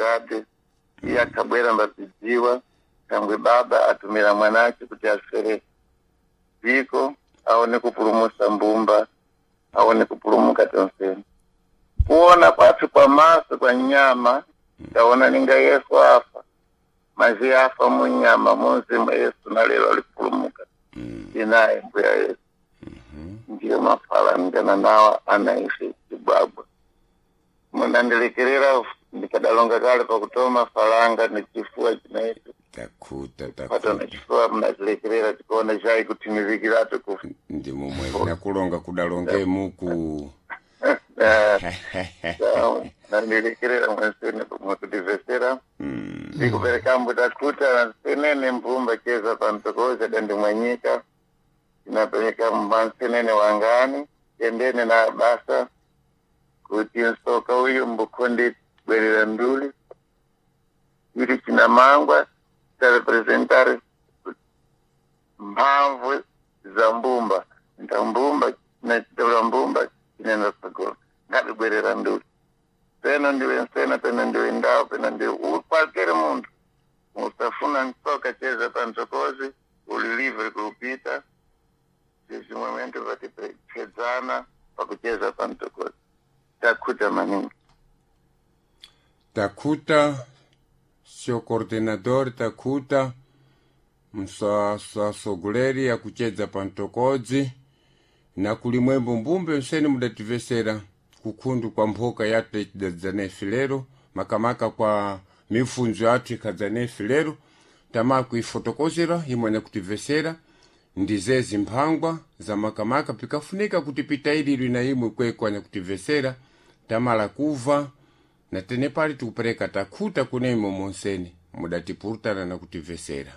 Dade iye akabwera mbatidziwa kangwe baba atumira mwanache kuti afere dziko aone kupulumusa mbumba aone kupulumuka tonseni kuona kwathu kwa maso kwa nyama taona ninga Yesu afa mazi afa munyama munzimu Yesu na lero alipulumuka inaye mbuya Yesu ndiyo mafala ndana nawa anaishi chibwabwa munandilekerera ndikadalonga kale pakutoma falanga nechifua chinaicho Takuta patona takuta chifuwa munachilekerera tikuona chai kutimivikirato kufa ndi momwe nakulonga kudalonge muku nandilekerera mwensene mwekutivhesera ndikuperekambo takuta nsenene mbumba cheza pamtokoza dandimwanyika tinapereka mwansenene wangani tendene na basa kuti nsoka uyu mbukonde bwerera nduli kuti chinamangwa tarepresentare mphamvu za mbumba nta mbumba nachitaura mbumba chinenda tsogolo ngatibwerera nduli peno ndiwe nsena peno ndiwe ndau peno ndiwe ukwakere muntu usafuna nsoka cheza pantsokozi uli livre kuupita zvimwe vatipedzana pakucheza pantsokozi takuta maningi. Takuta sio coordenador takuta msasogoleri akuchedza pantokodzi na kulimwembo mbumbe mseni mudativesera kukhundu kwa mphoka yathu yachidadzanefe lero makamaka kwa mifunzo yathu ikhadzanefe lero tama kuifotokozera imwe kutivesera ndizezi mphangwa za makamaka pikafunika kuti pitaililwi na imwe kweko anyakutivesera tamala kuva na tene pali tikupereka takhuta kunemwe monseni mudatipurutana na kutivesera.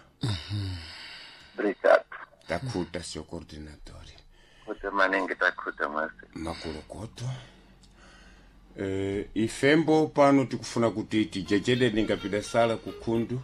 Obrigado. Takhuta sio coordinatori. Kuta maningi takuta mwase. Makolokoto ifembo pano tikufuna kuti tijejeleni ngapida sala kukhundu.